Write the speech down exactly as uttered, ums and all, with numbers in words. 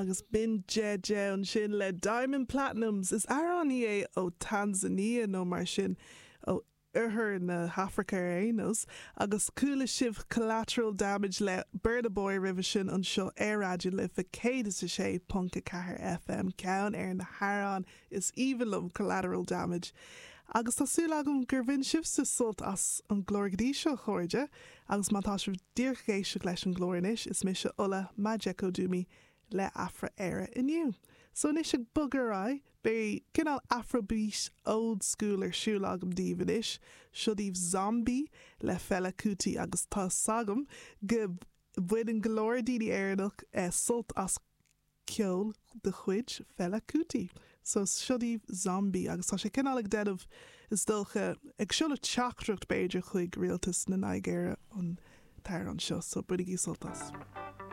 Agus b'in Jeje ansin le Diamond Platnumz is amhránaí é ó Tanzania nó mar sin ó oirthear na hAfraice ar aon nós, agus chuala sibh Collateral Damage le Burna Boy roimhe sin anseo ar Raidió na Life céad is a sé ponc a ceathair FM ceann ar na hamhráin is aoibhinn liom Collateral Damage. Agus tá súil agam gur bhain sibhse sult as an gclár go dtí seo a chairde, agus má tá sibh díreach ag éisteacht leis an gclár anois is mise Ola Majekodunmi le Afra Éire inniu. So anois ag bogadh ar aghaidh, beidh cineál Afrobeat old school ar siúl agam daoibh anois, seo daoibh Zombie le Fela Kuti agus tá a fhios agam go mbaineann go leor daoine Éireannach eh, sult as ceol de chuid Fela Kuti. So seo daoibh Zombie agus tá sé cineál ag déanamh is dócha ag seoladh teachtaireacht b'fhéidir chuig rialtas na Nigéire an t-amhrán seo, so bainigí sult as.